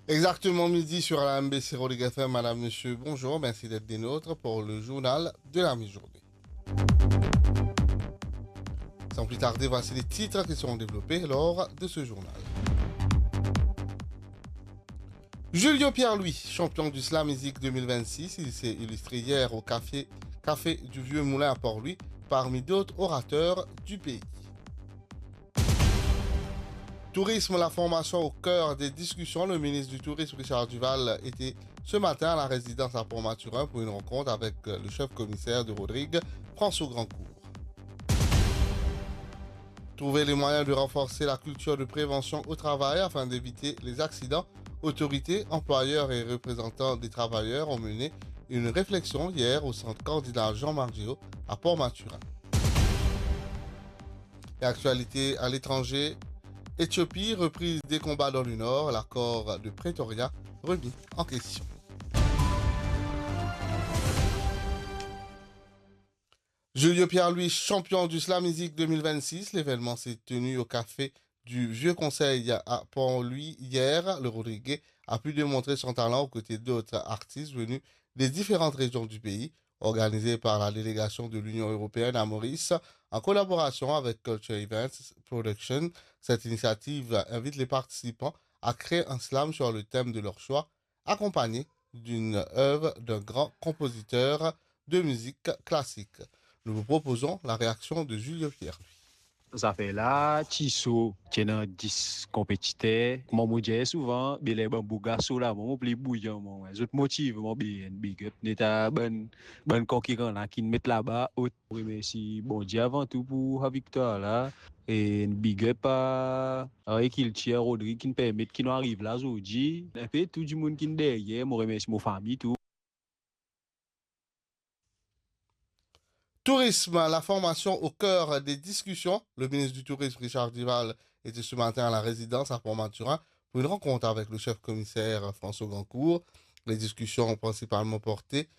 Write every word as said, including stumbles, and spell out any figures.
Exactement midi sur la M B C Rodrigues F M. Madame, monsieur, bonjour. Merci d'être des nôtres pour le journal de la mi-journée. Sans plus tarder, voici les titres qui seront développés lors de ce journal. Julio Pierre-Louis, champion du Slam Music deux mille vingt-six, il s'est illustré hier au café, café du Vieux Moulin à Port-Louis, parmi d'autres orateurs du pays. Tourisme, la formation au cœur des discussions. Le ministre du Tourisme, Richard Duval, était ce matin à la résidence à Port-Mathurin pour une rencontre avec le chef commissaire de Rodrigues, François Grandcourt. Trouver les moyens de renforcer la culture de prévention au travail afin d'éviter les accidents. Autorités, employeurs et représentants des travailleurs ont mené une réflexion hier au centre Cardinal Jean-Marc Giraud à Port-Mathurin. Et actualité à l'étranger, Éthiopie, reprise des combats dans le nord, l'accord de Pretoria remis en question. Julio Pierre-Louis, champion du Slam Music deux mille vingt-six, l'événement s'est tenu au café du Vieux Conseil à Port-Louis hier. Le Rodriguais a pu démontrer son talent aux côtés d'autres artistes venus des différentes régions du pays. Organisé par la délégation de l'Union européenne à Maurice, en collaboration avec Culture Events Production, cette initiative invite les participants à créer un slam sur le thème de leur choix, accompagné d'une œuvre d'un grand compositeur de musique classique. Nous vous proposons la réaction de Julio Pierre-Louis. Zafer la ti so, ti ena dis konpetiter. Kouma mo dir souvan, be ler bann bouga so la, mo, mo pli bouyan, mo. Zot motiv mwa, be, big up. Neta bann, bann konkiran la ki'nn met laba ot. Remersi Bondie avan tou pou sa viktwar la. E big up a, a Kiltir Rodrig ki'nn permet ki nou ariv la zordi. Enpe tou dimoun ki'nn deryer, mo remersi mo fami tou. Tourisme, la formation au cœur des discussions. Le ministre du Tourisme, Richard Duval, était ce matin à la résidence à Port-Mathurin pour une rencontre avec le chef commissaire François Grandcourt. Les discussions ont principalement porté